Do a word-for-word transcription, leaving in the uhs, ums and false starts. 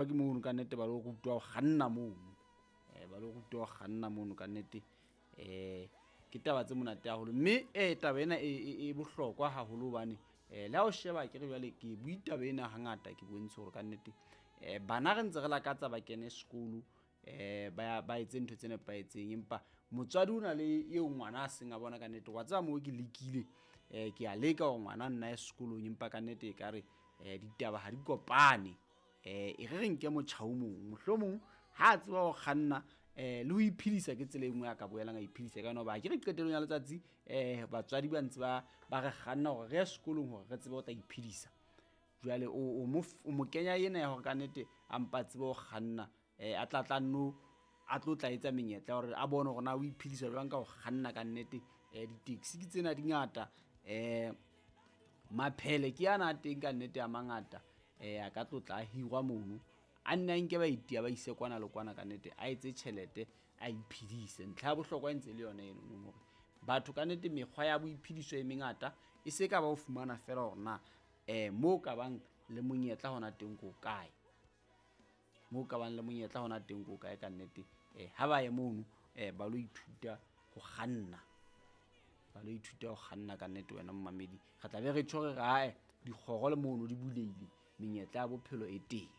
Ke mono ka nnete ba lo rutwa ho kganna mono, um ba lo rutwa ho kganna mono ka nnete. um Ke taba tse monate haholo, mme um taba ena e, e bohlokwa haholo hobane um le ha o sheba ke re jwale ke bue taba ena hangata, ke bontshe hore ka nnete um bana re ntse re lakatsa ba kene sekolo, um ba ba etse ntho tse nepahetseng, empa motswadi o na le eo ngwana a seng a bona ka nnete wa tseba moo ke lekile, um ke a leka hore ngwana nna ye sekolong, empa ka nnete e ka re um ditaba ha di kopane. um E re re nke motjha o mong, mohlomong ha a tseba ho kganna um le ho iphedisa ke tsela e nngwe a ka boelang a iphedisa ka yona. Hoba ke re qetellong ya letsatsi um batswadi ba ntse ba ba re kganna hore re ye sekolong hore re tsebe ho tla iphedisa. Jwale o mo o mo kenya ena ya hore ka nnete a mpa tsebe ho kganna, um a tla tla nno a tlo tla etsa menyetla ya hore a bone hore na o iphedisa jwang ka ho kganna ka nnete. um Di-taxi ke tsena di ngata, um maphele ke ana a teng ka nnete a mangata, um a ka tlo tla a hirwa mono, a nne a nke baeti a ba ise kwana le kwana ka nnete, a etse tjhelete a iphedise. Ntlha ya bohlokwa e ntse le yona eno hore batho ka nnete mekgwa ya boiphediso e mengata, e se ka ba o fumana feela hore na um mo ka bang le monyetla hona teng ko kae, mo ka bang le monyetla hona teng ko kae ka nnete. um Ha ba ye mono um ba lo ithuta ho kganna, ba lo ithuta ho kganna ka nnete. Wena momamedi, re tla be re tjho re re ae dikgoro le mono di bulehile, menyetla ya bophelo e teng.